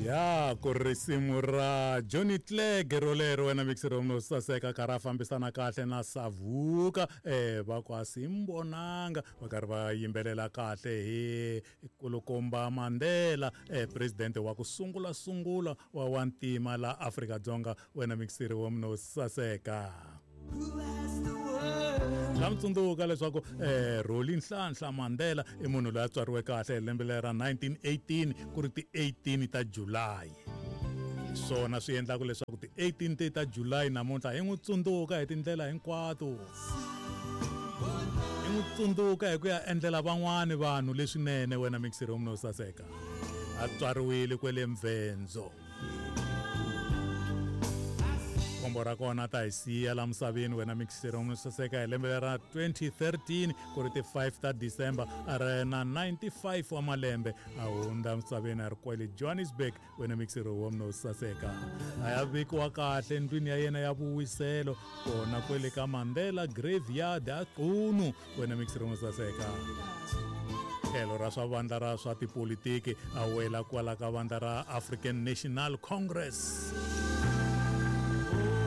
Ya ku risimu ra Johnny Clegg rolero wena mixero no saseka karhi a fambisana kahle na Savuka va ku a simbonanga va karhi va yimbelela kahle hi kulukumba Mandela president wa ku sungula sungula wa wantima la Afrika-Dzonga wena mixeri wa no saseka. Nga mi tsundzuka leswaku Roli Nhlanhla Mandela i munhu loyi a tswariwe kahle hi lembe leri ra 1918 ku ri ti 18 ta July. Hi swona swi endlaka leswaku ti 18 ti ta July namuntlha hi n'wi tsundzuka hi tindlela hinkwato. Hi n'wi tsundzuka hi ku ya endlela van'wani vanhu leswinene wena mixeri wa munhu wo saseka. A tswariwile kwele Mvenzo. Khombo ra kona ta hi siya la misaveni wena mixeri wa munhu saseka hi lembe ra 2013 ku ri ti 5 ta December a ri na 95 wa malembe a hundza misaveni a ri kwale Johannesburg wena mixeri wa munhu saseka. A ya vekiwa kahle ndlwini ya yena ya vuwiselo kona kwele ka Mandela Graveyard a Qunu wena mixeri wa munhu saseka. Tlhelo ra swa vandla ra swa tipolitiki a wela kwala ka vandla ra African National Congress.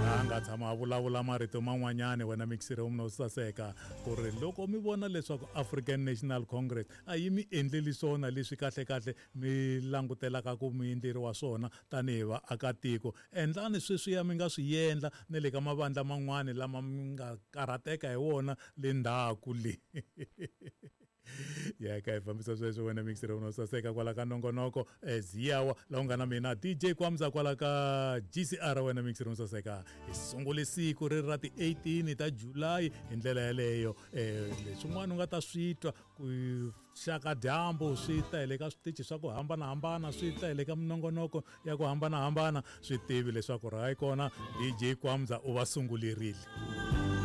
A nga tshama a vulavula marito man'wanyani wena mixeri wa munhu saseka ku ri loko mi vona leswaku African National Congress a yi mi endleli swona leswi kahle-kahle mi langutelaka ku mi endleriwa swona tanihi vaakatiko, endlani sweswiya mi nga swi endla ni le ka mavandla man'wani lama mi nga karhateka hi wona le ndzhaku le. Ya ka hi fambisa sweswo wena mixer wa saseka kwala ka nongonoko Ziyawa laha u nga na mina DJ Kwamza kwala ka GCR wena mixer wa saseka. Hi sungule siku ri ra ti 18 ta July hi ndlela yeleyo. Leswin'wana u nga ta swi twa ku xaka dyambu swi ta hi le ka switichi swa ku hambanahambana, swi ta hi le ka minongonoko ya ku hambanahambana, swi tivi leswaku ra kona DJ Kwamza u va sungulerile.